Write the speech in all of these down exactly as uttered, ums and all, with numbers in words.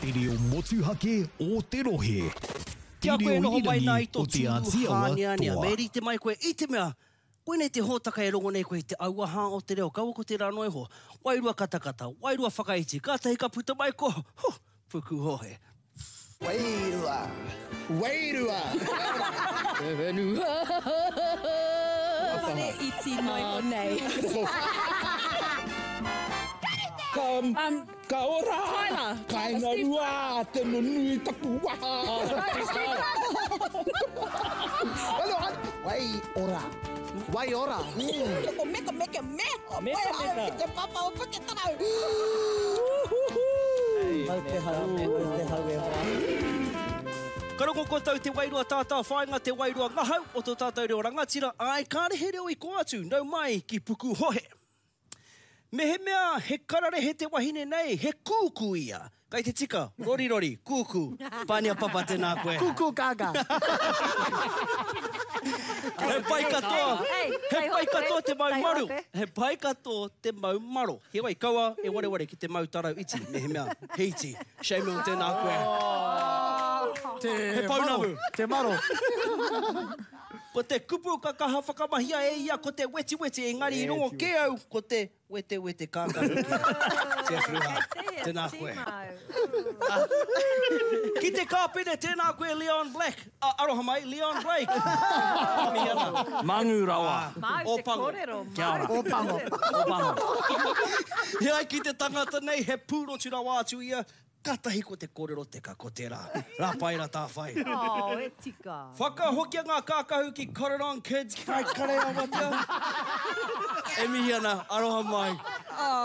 Te reo motuhake o te rohe. Kia koe noho mai nā i tō tūru hāneanea, me rite mai koe i te mea, koinei te hōtaka e rongo nei koe i te auaha o te reo, kaua ko tērā noa iho, wairua katakata, wairua whakaiti, kātahi ka puta mai ko, huh, pukuhohe. Wairua, wairua. Te whenua. Whare iti noa iho nei. Ka, um, ka ora! Tyler! Kainga rua, te nunui taku waha! Wai ora. Wai ora. Ko meka meka me. Meka meka. Te papa o Puketarau. Mau te hau, mau te hau e hoa. Ka rongo koutou te wairua tātāwhāinga, te wairua ngahau o tō tātou reo rangatira, āe, kāre he reo i kō atu, nau mai ki Pukuhohe. Mehemea he kararehe te wahine nei, he kūkū ia. Kai te tika, rorirori, kūkū. Pānia Papa, tēnā koe. Kūkū kākā. He pai katoa, he pai katoa te mau maru. He pai katoa te mau maro. Heoi, kaua e wareware ki te mau tarau iti, mehemea he iti. Shame on tēnā koe. Te He pounamu. maro, te maro. Ko te kupu ka kaha whakamahia e ia ko te wetiweti, engari i rongo kē au ko te wetewete kākahu ki Jeff Ruha. Tēnā koe. Ki te kāpene, tēnā koe Leon Black. A, aroha mai, Leon Blake. Mihi ana. Mangu rawa. Māu te kōrero. Kia ora. O pango. O pango. He ai ki te tangata nei, he pūrotu rawa atu ia, Katahi ko te kōrero teka, ko tērā. Rā pai rā tāwhai. Oh, e tika. Whakahokia ngā kākahu ki Cotton On Kids, kai kare awatea. E mihi ana, aroha mai.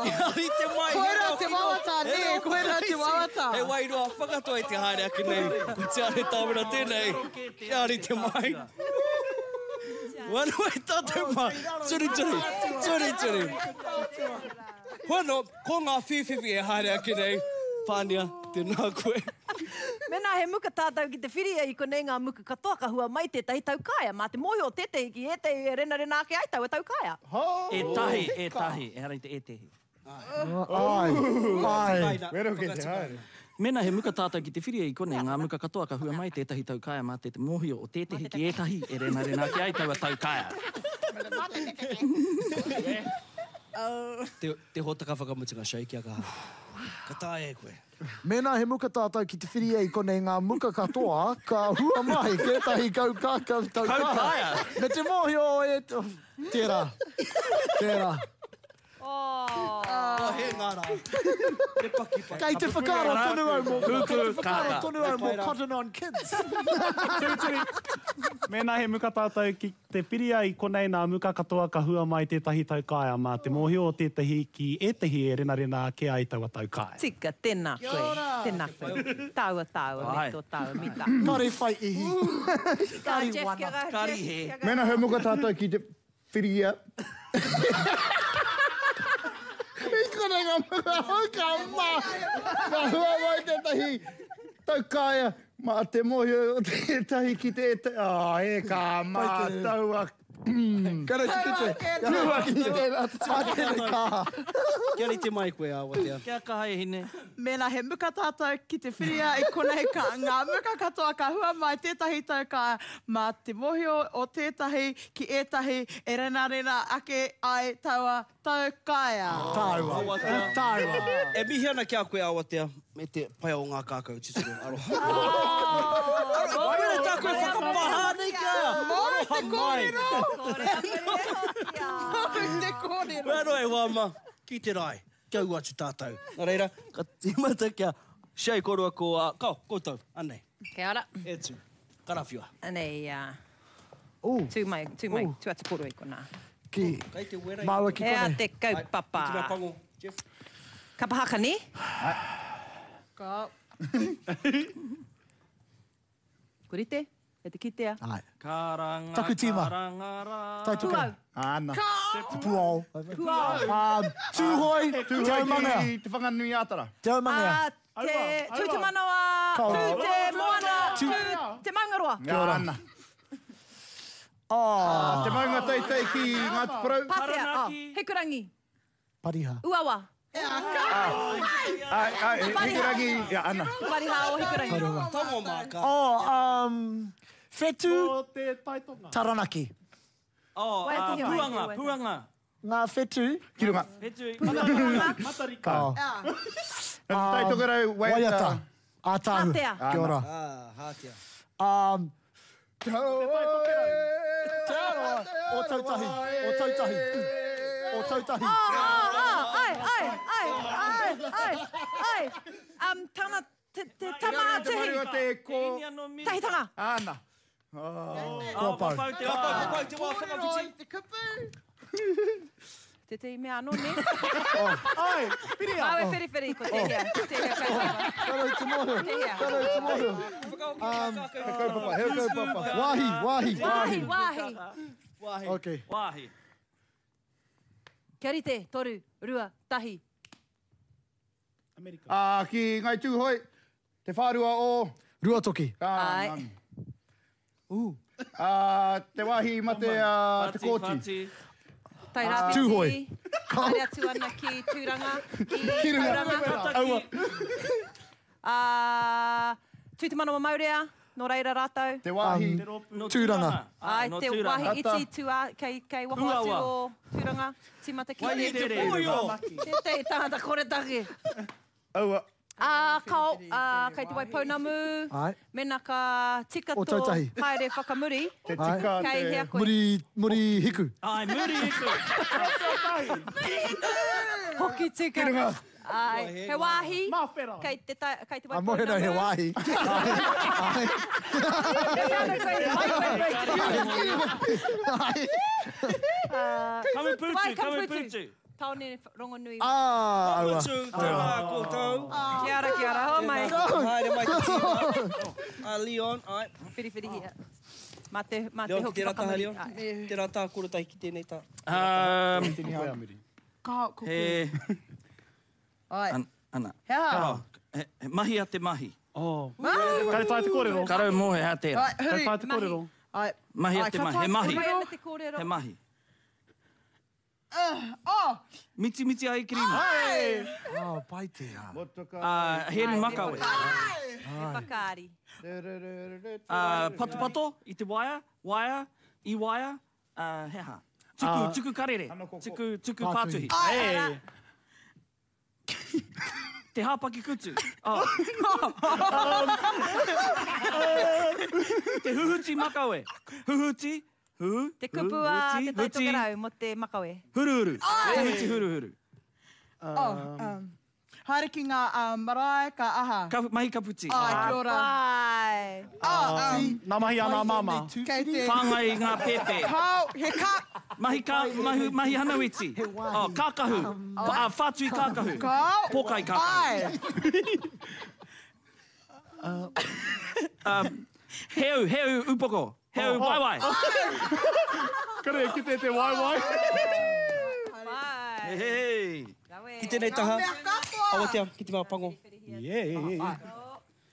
Kia rite mai, he Koirā reo te kino, wawata, he nē, reo koirā te whakaiti, wawata. He wairua whakatoa i te haere ake nei. Ko Te Are Tāwera tēnei, kia rite mai. Wano e tātou mā, turituri, turituri. Hono, ko ngā whīwhiwhi e haere ake nei. Pānia, tēnā koe. Mēnā he muka tātou ki te whiria i konei ngā muka katoa ka hua mai tētahi taukaea. Mā te mōhio o tētahi ki ētahi e renarena ake ai taua taukaea. Ētahi, ētahi, ehara i te ētehi. Ai, ai. Wero kei te haere. Mēnā he muka tātou ki te whiria i konei ngā muka katoa ka hua mai tētahi taukaea mā te mōhio o tētehi ki ētahi e renarena ake ai taua taukaea. Te, te hōtaka whakamutunga, Shay, kia kaha. Ka taea e koe. Mēnā he muka tātou ki te whiria i konei ngā muka katoa, ka hua mai tētahi kau kākau tau kaha. Me te mōhio e... Tērā. Tērā. Oh, he ngā rā. Te pakipaki. Kei te whakaaro tonu au mō, kei te whakaaro tonu au mō Pai rā. Cotton On Kids. Turituri. Mēnā he muka tātou ki te whiria i konei nā muka katoa ka hua mai tētahi taukaea mā te mōhio o tētahi ki ētahi e renarena ake ai taua taukaea. Tika, tēnā koe. Tēnā koe. Tāua, tāua, me tō tāua mita. Kare whai ihi. Kare wana. Kare he. Mēnā he muka tātou ki te whiria. I konei ngā muka hau ka mā. Ka hua mai tētahi taukaea mā te mōhio o tētahi ki te ētahi. Oh, e ka mā taua. Kare te kite. Kare te kite. Mā tēnei kaha. Kia rite mai koe, Awatea. Kia kaha e hine. Mēnā he muka tātou ki te whiria i konei ka ngā muka katoa ka hua mai tētahi taukaea mā te mōhio o tētahi ki ētahi e renarena ake ai taua taukaea. Tāua. Awatea. Tāua. E mihi ana ki a koe, Awatea, me te pai o ngā kākau tuturu. Aroha. Aroha. Koe tā koe whakapahā nei ki a ia. Aroha mai. Mō te kōrero. Wero e wāma, ki te rae, kia ū atu tātou. Nā reira, ka tīmata kia Shay kōrua ko, uh, kao, koutou, anei. Kia ora. E tū, karawhiua. Anei, uh, Ooh. tū mai, tū mai, Ooh. tū atu kōrua i konā. Ki, Kei te wera i māua ki Hea konei. te kaupapa. Ai, ki te mea pango, Jeff. Kapa haka, nē? Ka. Ko rite? E te kitea? Ai. Karanga, Taku tīma. karanga rā. Taituke. Puau. Ana. Te puao. Puao. Um, Tūhoi, Te Tūhoi Aumangea. ki Te Whanganui-ā-Tara. Te Aumangea. Ah, te Aua, tū te aua. manawa, Ka tū ora. te moana, Tū- tū te maungaroa. Kia ora. Ana. Oh. Te maunga teitei ki Ngāti Porou. Pātea, oh, Taranaki. Hikurangi, Pariha. Uawa, Ai, ai, Hikurangi, ia, ana. Pariha o Hikurangi. Tango māka. Oh, um, whetu. O te taitonga. Taranaki. Oh, uh, puanga, puanga. Ngā whetu. Ki runga. Whetu. Matariki. Oh. Tai Tokerau, waiata. Waiata. Ātāhu. Hātea. Kia ora. Ah, hātea. Um, Te Tai Tokerau. Te Arawa. O Tautahi. O Tautahi. O Tautahi. Oh, oh, oh, ai, ai, ai, ai, ai, ai. Um, tana, te, te tama a Te tihi. maru o te ko... Tahitanga. Ana. Kua pau. Kua pau te Ka wā. pau, ka pau te wā whakawhiti. Te kupu. Te te mea anō, ne? Ai, piria. Māu e whiriwhiri, ko tēhea. Ko tēhea kaupapa. Karau te mōhio. Tēhea. Karau te mōhio. He kaupapa, he kaupapa. Wāhi, wāhi. Wāhi, wāhi. Wāhi. Okay. Wāhi. Kia rite, toru, rua, tahi. Amerika. Ah, ki Ngai Tūhoe, te whārua o... Ruatoki. Ah, Ai. nani. Ah, te wāhi mate a Te Whati, Kōti. whati. Tairāwhiti. Tūhoe. Haere atu ana ki Tūranga, ki Ki runga. Tauranga. Aua. Ah, Tū te manawa maurea, nō reira rātou. Te wāhi. No Tūranga. Ai, Ai, no te Tūranga. wāhi iti tūā, kei, kei waho atu Huawa. o Tūranga, tīmata ki Waihi te. tere. Tētehi tangata koretake. Aua. Ah, kao, ah, kei te Waipounamu, Ai. mena ka tika O tō Tautahi. haere whakamuri, Te tika kei te... hea koe. Muri, muri hiku. Ai, muri hiku. Hoki tika. Ki runga. Ai, he wāhi, Māwhera. kei te, ta, kei te A mohe Waipounamu. he wāhi. Ai. Ai. Kamuputu, Wai, Kamuputu. kamuputu. Tāone rongonui. Ah, aua. Mutu, tēnā koutou. Kia ora, kia ora, ho mai. Haere mai te tīma. A Leon, ai. Whiriwhirihia. Mā te, mā te Leon, ki hoki tērā taha, whakamuri. Leon. Ai. Tērā tā korotai ki tēnei tā. Um, Ka, ko koe. he... Ai. An, ana. He aha? Oh, he, he mahi a te mahi. Oh. Kare tae te kōrero. Karau mō he hea tērā. Ai, Kare huri. tae te kōrero. Ai. Mahi a Ai, te ka mahi. tae He mahi. Mai ana te kōrero. He mahi. Oh! Miti miti ai kirima. Oh, pai tērā. Motoka. Uh, heri makawe. He whakaari. Uh, patopato i te waia, waia, i waia, uh, he aha. Tuku, Ah. tuku karere. Tuku, tuku Pātuhi. pātuhi. Hey. Te hāpaki kutu. Oh. Te huhuti makawe. Huhuti, hu, Te kupu a huhuti, te Tai huti, Tokerau mō te makawe. Huruhuru. Huhuti huruhuru. Oh, um, haere ki ngā um, marae, ka aha. Ka, mahi kaputi. Ai, kia ora. Ai. Oh, um, Nā mahi a nā māmā. kei te... Whāngai i ngā pēpē. Kao, he ka... Mahi, ka, mahi, mahi hanawiti. Oh, kākahu. Pa, uh, whātui kākahu. Kao. Pōkai kākahu. Ai. Um, heu, heu upoko. Heu waiwai. Kare, ki te te waiwai. Pai. Hey, hey. Rawe. Ki tēnei taha. Mea katoa. Awatea, ki te mea pango. Yeah, yeah, yeah.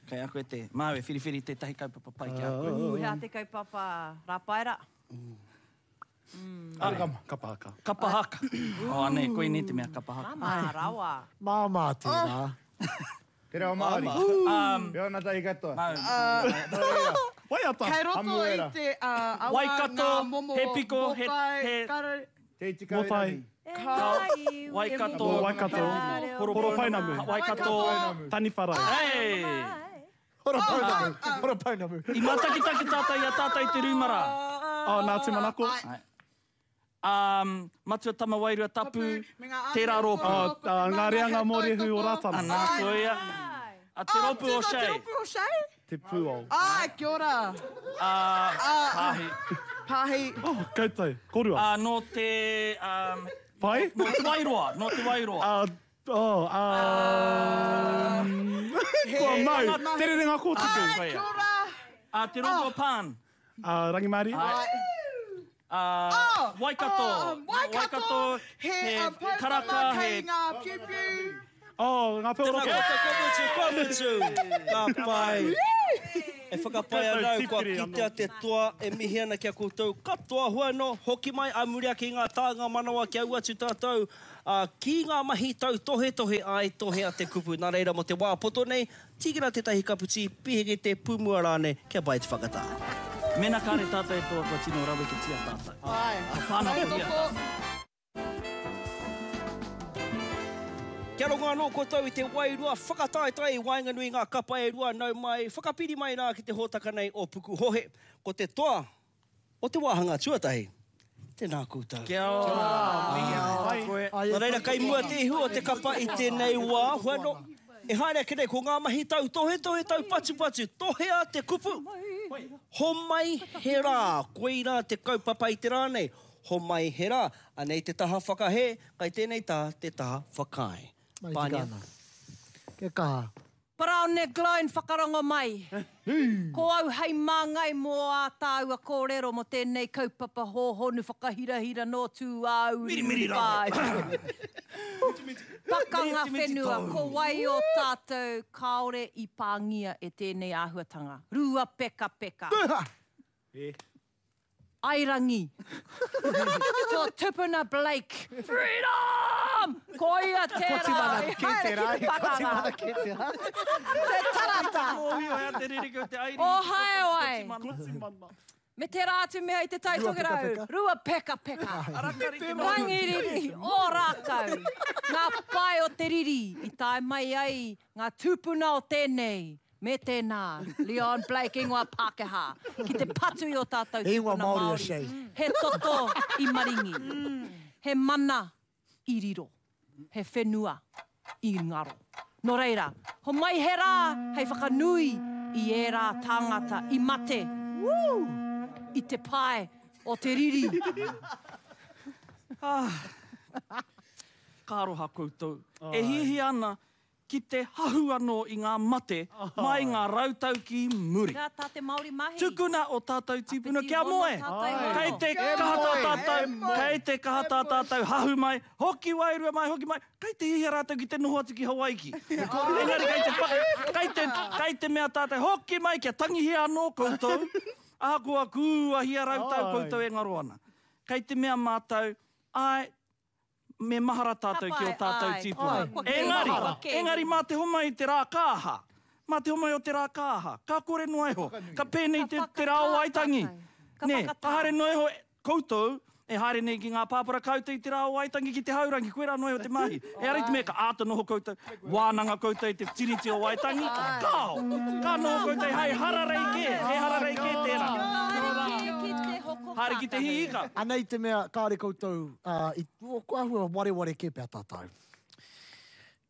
Kei a koe te māu e whiriwhiri tētahi kaupapa pai ki a koe. Ū, hea te kaupapa rāpaera. Kapa haka. Kapa haka. Oh, anei, koinei te mea kapa haka. Māmā rawa. Māmā tērā. Te reo Māori. Um, Reo nā tahi katoa. māu. Waiata. Kei roto i Hamuera. te uh, awa Waikato, ngā momo he piko, he- mōtai, he- kare- Te tika Mōtai. irangi. Waikato. Waikato. Horopounamu. Waikato. Taniwharau. Hey! Horopounamu. Horopounamu. I mātakitaki tātou i a tātou i te rūmara. Oh, nā Tūmanako. Um, Matua Tamawairua Tapu, me ngā tērā rōpū. Oh, uh, ngā reanga mōrehu o Rātana. Anā, koia. A te rōpū o Te Shea. rōpū o Shea? Te pūao. Ai, kia ora. Uh, Pāhi. Pāhi. Oh, koutou. Korua. Uh, nō te... Um, Pai? nō te Wairoa. Nō te Wairoa. Uh, oh, um... Kua mau. Te rerenga kōtuku. Ai, kia ora. Uh, te rōpū o Pan. Uh, Rangimārie. Uh, Oh, Waikato. oh, um, Waikato. He, He um, poutama karaka, kei he... ngā piupiu. Oh, ngā peo Tēnā roto. koutou, kua mutu, kua mutu. Ka pai. E whakapae ana au kua kitea te toa e mihi ana ki a koutou katoa. Hua anō, hoki mai a muri ake i ngā tānga manawa kia ū atu tātou ki ngā mahi tautohetohe ai tohea te kupu. Nā reira mō te wā poto nei, tīkina tētahi kapu tī, pihekete, pūmua rānei, kia pai te whakatā. Mēnā kāre tātou e toa kua tino raweketia tātou. Ka whānakohia tātou. Kia rongo anō koutou i te wairua whakataetae i waenganui i ngā kapa e rua, nau mai, whakapiri mai rā ki te hōtaka nei o Pukuhohe. Ko te toa o te wāhanga tuatahi. Tēnā koutou. Kia ora. Mihi ora koe. Nā reira, kei mua te ihu o te kapa i tēnei wā, hua anō, e haere ake nei ko ngā mahi tautohetohe, taupatupatu, tohea te kupu, homai he rā, koirā te kaupapa i te rā nei, homai he rā, anei te taha whakahē, kai tēnei taha te taha whakaae. Mai tika ana. Kia kaha. Paraone Gloyne whakarongo mai. Ko au hei māngai mō ā tāua kōrero mō tēnei kaupapa hōhonu whakahirahira nō tūāuriuri whāi. Pakanga whenua, ko wai o tātou kāore i pāngia e tēnei āhuatanga. Rua peka peka. Airangi. Tō tupuna Blake. Freedom! Ko ia tērā i haere ki te pakanga. Te tarata. O Haeoai. Me tērā atu mea i te Tai Tokerau. Rua peka peka. Rangiriri, o rākau. Ngā pae o te riri i tae mai ai ngā tūpuna o tēnei. Me tēnā, Leon Blake, ingoa Pākehā, ki te patu i ō tātou tūpuna Māori. He toto i maringi, he mana i riro, he whenua i ngaro. Nō reira, homai he rā hei whakanui i ērā tāngata i mate, woo, i te pae o te riri. Ka aroha koutou. E hiahia ana ki te hahu anō i ngā mate mai ngā rautau ki muri. Kia tā te Māori mahi. Tukuna o tātou tīpuna kia moe. Kei te kaha tā tātou, kei te kaha tā tātou hahu mai, hoki wairua mai, hoki mai, kei te hiahia rātou ki te noho atu ki Hawaiki. Engari kei te, kei te, kei te mea tātou, hoki mai kia tangihia anō koutou, ahakoa kūahia rautau koutou e ngaro ana. Kei te mea mātou, ai, me mahara tātou ki o tātou tīpuna. Engari, engari mā te homai i te rā kāha. Mā te homai o te rā kāha. Ka kore noa iho. Ka pēnei te, te rā o Waitangi. Nē, ka haere noa iho koutou e haere nei ki ngā pāpara kaute i te rā o Waitangi ki te haurangi. Koe rā noa iho te mahi. E ara i te mea ka āta noho koutou, wānanga koutou i te tiriti o Waitangi. Kāo! Ka noho koutou hei hararei kē. He hararei kē tērā. Haere ki te hiika. Anei te mea, kāre koutou, uh, i, kua ahua wareware kē pea tātou.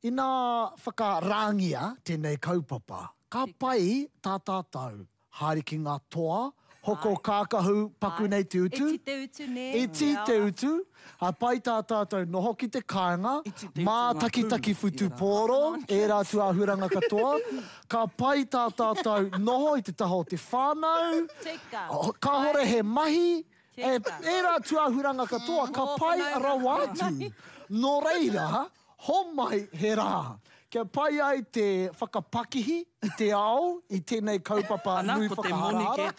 Ina whakarāngia tēnei kaupapa, ka pai tā tātou, haere ki ngā toa, hoko kākahu paku nei te utu. Iti te utu, nē. Iti te utu. A pai tā tātou noho ki te kāinga, mā takitaki whutupōro, ērā tūāhuranga katoa. Ka pai tā tātou noho i te taha o te whānau. Kāhore he mahi, ērā tūāhuranga katoa, ka pai rawa atu. Nō reira, homai he rā. Kia pai ai te whakapakihi i te ao, i tēnei kaupapa nui whakaharahara.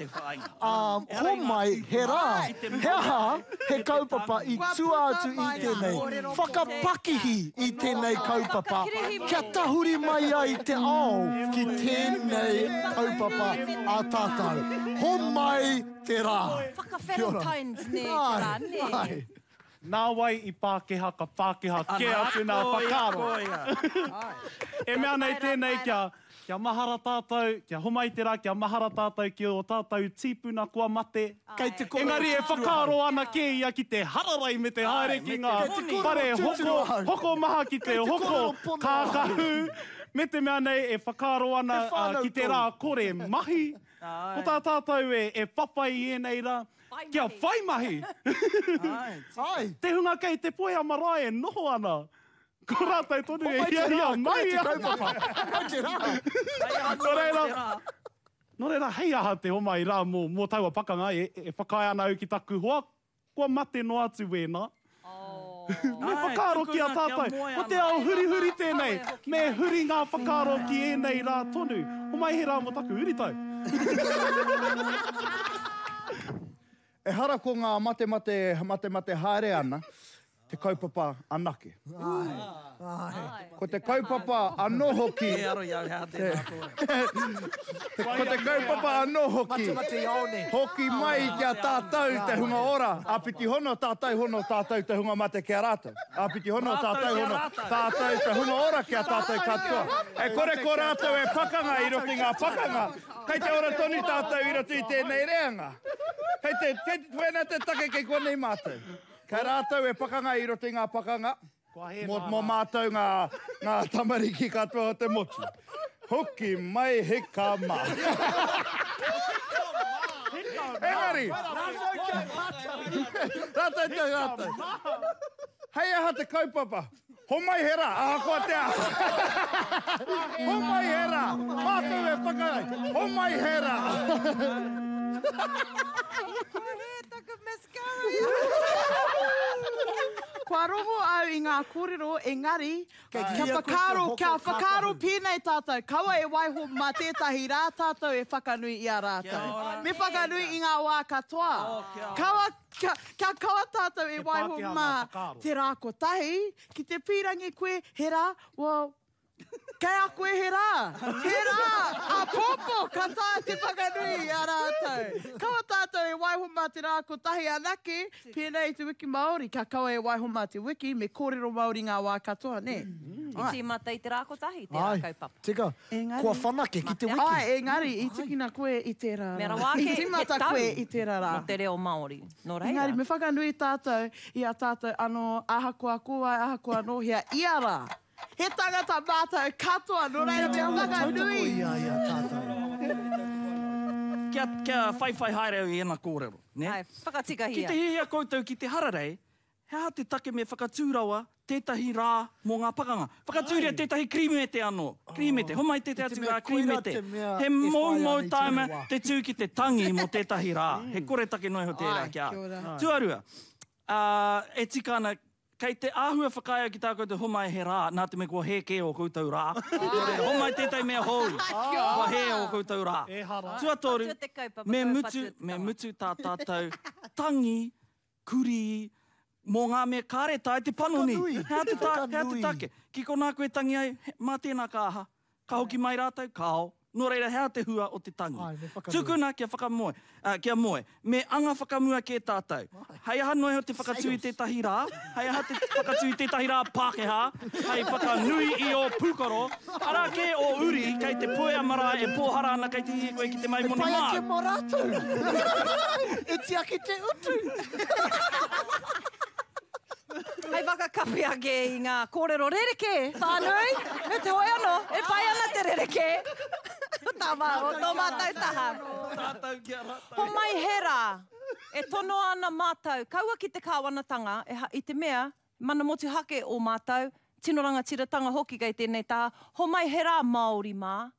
Homai he rā. He aha, he kaupapa i tua atu i tēnei. Whakapakihi i tēnei kaupapa. Kia tahuri mai ai te ao ki tēnei kaupapa a tātou. Homai te rā. Whaka-Valentine's ne, te rā, ne. Nā wai i Pākehā ka Pākehā kē atu nā whakaaro. E mea nei tēnei kia, kia mahara tātou, kia homai te rā, kia mahara tātou ki o tātou tīpuna kua mate. Kei te koro Engari e whakaaro ana kē ia ki te hararai me te haere ki ngā whare hoko, hoko maha ki te hoko kākahu. Me te mea nei e whakaaro ana uh, ki te rā kore mahi. Ko tā tātou e, e whawhai i ēnei rā. Kia whai mahi! Te hunga kei te poea marae e noho ana. Ko rātou tonu e hiahia mai ana. Nō reira, nō reira, hei aha te homai rā mō, mō taua pakanga e, e whakaae ana au ki taku hoa, kua mate noa atu wēnā. Me whakaaro ki a tātou. Ko te ao hurihuri tēnei. Me huri ngā whakaaro ki ēnei rā tonu. Homai he rā mō taku huritau. Ehara ko ngā matemate, matemate haere ana, te kaupapa anake. Ko te kaupapa anō hoki. E aro i au hea tēnā kōrero. Ko te kaupapa anō hoki. Matemate i aone. Hoki mai ki a tātou te hunga ora. Āpiti hono, tātou hono, tātou te hunga mate ki a rātou. Āpiti hono, tātou hono, tātou te hunga ora ki a tātou katoa. E kore ko rātou e pakanga i roto i ngā pakanga. Kei te ora tonu tātou i roto i tēnei reanga. Kei te, kei te, wēnā te take kei konei mātou. Kei rātou e pakanga i roto i ngā pakanga, mō, mō mātou ngā, ngā tamariki katoa o te motu. Hoki mai hika mā. Engari! Rātou te rātou. Hei aha te kaupapa. Homai he rā, ahakoa te aha. Homai he rā, mātou e whakarai. Homai he rā. Kua rongo au i ngā kōrero, engari, kia whakaaro, kia whakaaro pēnei tātou, kaua e waiho mā tētahi rā tātou e whakanui i a rātou. Me whakanui i ngā wā katoa. Kaua, kia, kia kaua tātou e waiho mā te rā kotahi, ki te pīrangi koe, he rā, well, kei a koe he rā, he rā, āpōpō ka taea te whakanui i a rātou. Kaua tātou e waiho mā te rā kotahi anake, pēnei i te wiki Māori, kia kaua e waiho mā te wiki, me kōrero Māori ngā wā katoa, nē? I tīmata i te rā kotahi, tērā kaupapa. Tika, kua whanake ki te wiki. Ai, engari, i tikina koe i tērā rā. Me rawa ake, I tīmata koe i tērā rā. Mō te reo Māori. Nō reira. Engari, me whakanui tātou i a tātou anō, ahakoa ko wai, ahakoa nō hea, ia rā. He tangata mātou katoa, nō reira me whakanui. Kia, kia whaiwhai haere au i ēnā kōrero. Ne? Ai, whakatikahia. Ki te hiahia koutou ki te hararei, he aha te take me whakatū rawa tētahi rā mō ngā pakanga. Whakatūria tētahi krimete anō. Krimete, homai tētahi atu rā krimete. He moumou taima te tū ki te tangi mō tētahi rā. He kore take noa iho tērā ki a. Tuarua, uh, e tika ana, kei te āhua whakaea ki tā koutou homai he rā, nā te mea kua hē kē o koutou rā. Homai tētahi mea hou, kua hē o koutou rā. Tuatoru, me mutu, me mutu tā tātou tangi, kuri, mō ngā mea kāre tae te panoni. Hea te, ta, hea te take? Ki konā koe tangi ai, mā tēnā ka aha. Ka hoki mai rātou, kāo. Nō reira, hea te hua o te tangi. Tukuna kia whakamoe, uh, kia moe. Me anga whakamua kē tātou. Hei aha noa iho te whakatū i tētahi rā, hei aha te whakatū i tētahi rā Pākehā, hei whakanui i o pūkoro, arā kē o uri, kei te puea marae e pōhara ana kei te hie koe ki te mai moni mā. E pai ake mō rātou. E tiaki te utu. Hei whakakapi ake i ngā kōrero rerekē, whānui, me te hoi anō, e pai ana te rerekē. Tā mā, o tō mātou taha. Homai he rā, e tonoa ana mātou, kaua ki te kāwanatanga, e ha, i te mea, mana motuhake o mātou, tino rangatiratanga hoki kei tēnei taha, homai he rā Māori mā,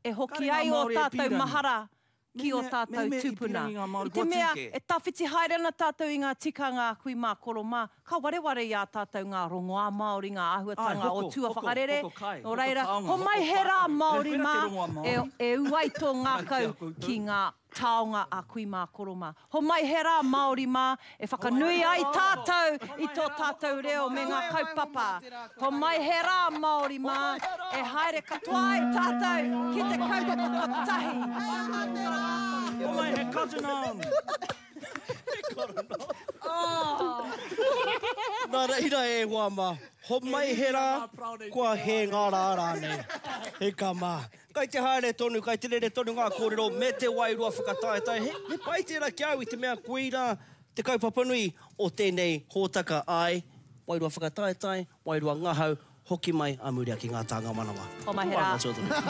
e hoki ai o tātou mahara ki o tātou tūpuna. I te mea, e tawhiti haere ana tātou i ngā tikanga a kui mā koro mā, ka wareware i a tātou ngā rongoā Māori, ngā āhuatanga o tua whakarere. Nō reira, homai he rā Māori mā, e, e uai tō ngākau ki ngā taonga a kui mā koro mā. Homai he rā Māori mā, e whakanui ai tātou i tō tātou reo me ngā kaupapa. Homai he rā Māori mā, e haere katoa ai tātou ki te kaupapa kotahi. Homai he cotton on. Nā reira e hoa mā, homai he rā, kua hē ngā rā rānei. He ka mā. Kai te haere tonu, kai te rere tonu ngā kōrero me te wairua whakataetae. He, he pai tērā ki au i te mea koira te kaupapa nui o tēnei hōtaka ai, wairua whakataetae, wairua ngahau, hoki mai a muri ake ngā tānga manawa. Homai he rā.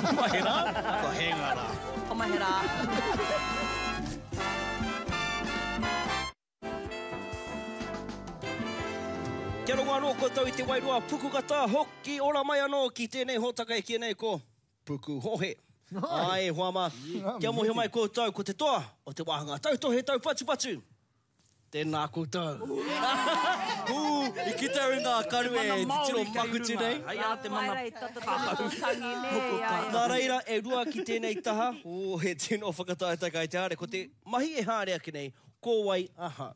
Homai he rā, kua hē ngā rā. Homai he rā. Kia rongo anō koutou i te wairua pukukata, hoki ora mai anō ki tēnei hōtaka e kī nei ko Pukuhohe. Ai, hoa mā, kia mōhio mai koutou ko te toa o te wāhanga tautohe taupatupatu, Tēnā koutou. Hū, i kite au i ngā karu e titiro makuti nei. Hei a te mana Nā reira, e rua ki tēnei taha, oh, he tino whakataetae kai te haere. Ko te mahi e haere ake nei, ko wai ahau.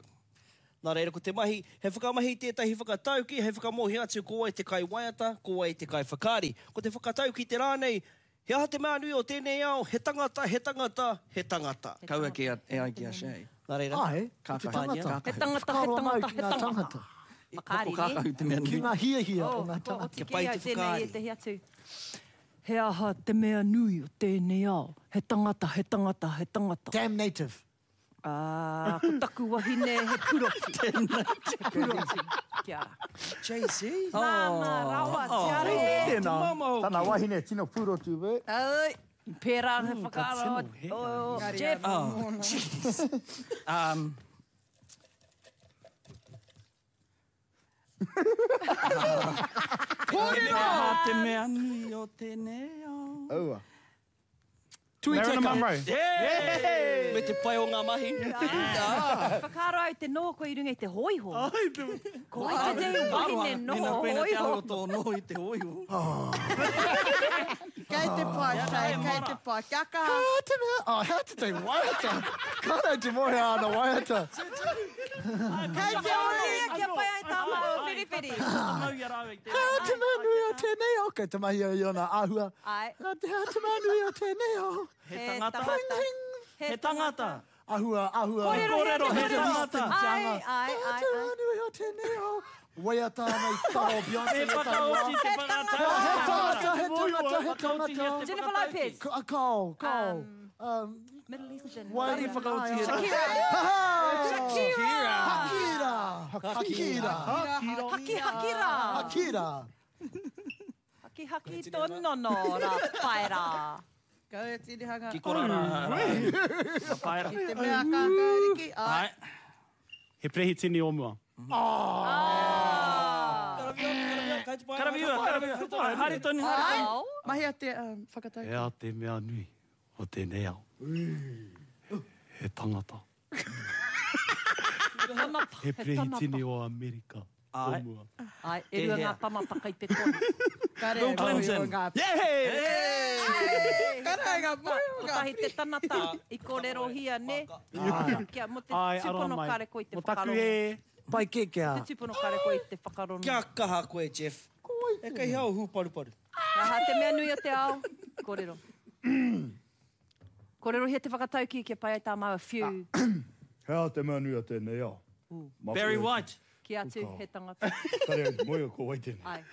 Nā reira, ko te mahi, he whakamahi tētahi whakatauki, hei whakamōhio atu ko wai te kaiwaiata, ko wai te kaiwhakaari. Ko te whakatauki te rā nei, he aha te mea nui o tēnei ao, he tangata, he tangata, he tangata. Kaua ki a, e ai ki a Shay. Nā reira, Ai, ko te tangata. He tangata, he tangata, he tangata. Whakaari, Hoko kākahu te mea nui. Ki ngā hiahia o ngā Kua tangata. oti kē au tēnei ētehi atu. He aha te mea nui o tēnei ao? He tangata, he tangata, he tangata. Damn native. Ah, ko taku wahine he puroti. He puroti. Kia. Jay-Z. Māmā rawa, te are. Tēnā. Tana wahine tino pūrotu, be. Ai, pērā he whakaaro o Jeff. Oh, jeez. Um, Kōrero! He te mea nui o tēnei ao. Aua. Marilyn Monroe. Yeah! Me te pai o ngā mahi. Ah. Whakaaro au te noho koe i runga i te hōiho. Ko ai te te wahine noho Mēnā koe te hōiho. aro tō noho i te hōiho. Kei te pai, Shay, kei te pai. Kia kaha. Hea te mea, oh, hea te te waiata. Kāre te mohe ana waiata. Kei te oti. Kia pai ai tā māua whiriwhiri. Hea te mea nui o tēnei ao. Kei te mahi au i ona āhua. Ai. Hea te mea nui o tēnei ao. He tangata. He He tangata. Ahua, ahua. Kōrero, Kōrero, he kōrero. tangata. Ai, ai, Hea ai, te ai. mea nui o tēnei ao. Waiata ana i taro Beyonce. Me whakaoti te He whakatau. tangata, he tangata, he tangata. Jennifer Lopez. Ka- Kao, kao. Um, Middle Eastern. Wai- Whakaoti Shakira. Shakira. Hakira. Hakira. Haki hakira. Hakira. Haki haki tō nono rā paera. Kau e tirihanga. Ki kora rā. Ka paera. Ki te mea kākāriki. Ai. Ai. He perehitini o mua. Karawhiua, karawhiua. Haere tonu, haere Ai. tonu. Mahia te um, whakatauki. Hea te mea nui o tēnei ao. He tangata. He perehitini o Amerika o Ai. mua. Ai, e rua ngā tangata kai te tonu. Kare Bill Clinton. Kare ngā moe o ngā Kotahi te tangata i kōrerohia, ne? Kia, mo te Ai, aroha tūpono mai. kare koe i te Mo taku whakarongo. e. Pai kē kia. Te tūpono kare koe i te whakarongo. Kia kaha koe, Jeff. E kei hea o hūparuparu. Aha, te mea nui o te ao. Kōrero. Kōrerohia te whakatauki kia pai ai tā māua whiu. Hea te mea nui o tēnei ao. Barry White. Ki atu he tangata. Kare au te moe o ko wai tēnei. Ai.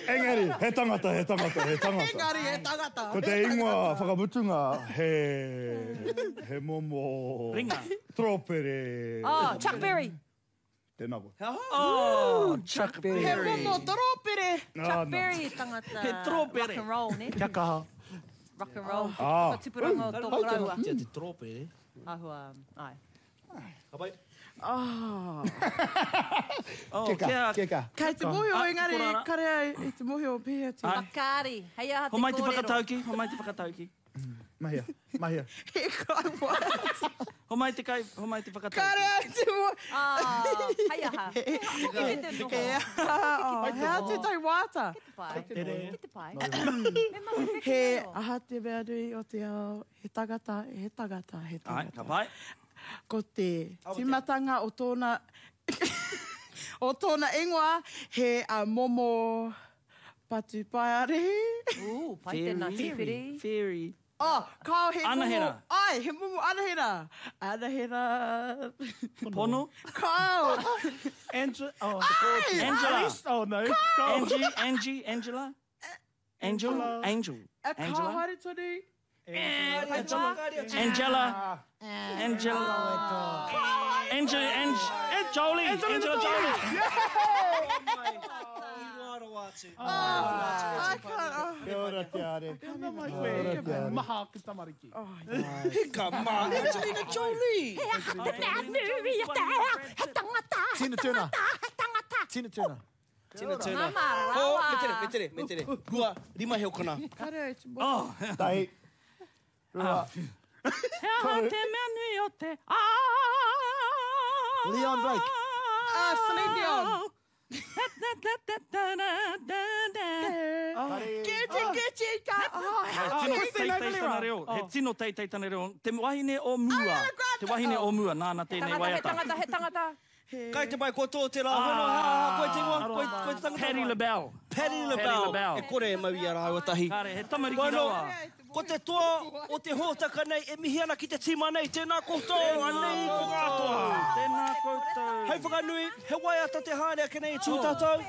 Engari, he tangata, he tangata, he tangata. Engari, he tangata. Ko te ingoa whakamutunga, he, he momo... Ringa. Tropere. Oh, Chuck Berry. Tēnā koe. Oh, Chuck He Berry. momo toropere. Chuck Berry tangata. He tropere. Rock and roll, ne? Kia kaha. Rock and roll. Ah. Whakatupuranga o tō koroua. Tia te tropere. Ahua, ai. Ka pai. Oh. Oh, Keka, kia. keka. Kei te mōhio, Ah, engari, kora rā. kare au i te mōhio pēhea te. Ai. Whakaari. Hei aha te Homai te kōrero. whakatauki, homai te whakatauki. Mahia, mahia. He kai waiata. Homai te kai, homai te whakatauki. Kare au te mōhio. Ah, hei aha. He aha te noho. He aha, hea te tai waiata. Ki te pai. Ki te pai. Me mahi wheke He reo. aha te mea nui o te ao, he tangata, he tangata, he Ai, tangata. ka pai. Ko te tīmatanga o tōna, o tōna ingoa, he uh, momo patupaiarehe. Ooh, pai tēnā tīwhiri. Fairy. Oh, kao he Anahera. momo. Ai, he momo anahera. Anahera. Pono. Kao. Angela. Oh, Angela. Oh, no. Angie, Angie, Angela. Angel, Angel. A kao Angela. haere tonu. Angela. Angela. Angela. Angela, Ange, Jolie. Angela Jolie. I can't. Oh. Kia ora te are. Tēnā mai koe. Maha aku tamariki. Hika mā, Angelina Jolie. He aha te mea nui o te ao, he tangata, he Tina Turner. tangata, he tangata. Tina Turner. Tina Turner. Mama rawa. Oh, me tere, me tere, me tere. Rua, rima he o kona. Kare au te mōhio. Oh, Tahi. Rua. He aha te mea nui o te ao. Leon Blake. Ah, Celine Dion. Gucci, Gucci, ka. Oh, He tino teitei tana reo. He tino teitei tana reo. Te wahine o mua. Te wahine o mua, nāna tēnei Tangata, he waiata. tangata, he tangata. Kai te mai ko tō te rā hono, ha, ha, koe te ingoa, koe, koe te tangata. Patti LaBelle. Patti LaBelle. LaBelle. E kore e mau i a rāua tahi. Kāre, he tamariki Bueno, rawa. Ko te toa o te hōtaka nei e mihi ana ki te tīma nei, tēnā koutou, anei ko ngā toa. Tēnā koutou. Hei whakanui, he waiata te haere ake nei e tū tātou.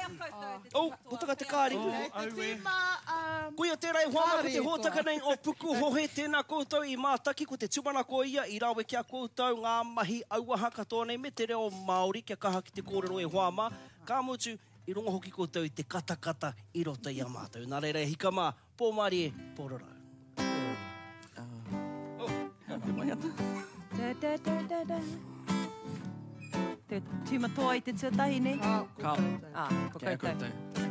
Oh, puta ka te kāri. Te tīma, um, Koia tērā i hoa mai ko te Kāri e hōtaka nei o Pukuhohe, tēnā koutou i mātaki, ko te tūmanako ia i rawe ki a koutou ngā mahi auaha katoa nei me te reo Māori kia kaha ki te kōrero e hoa mā. Ka mutu, i rongo hoki koutou i te katakata i roto i a mātou. Nā reira e hika mā, pō mārie, pō rarau. Te waiata. Da, da, da, da, da. Te tīma toa i te tuatahi, ne? Ka. Ah, ko Kei a koutou. koutou.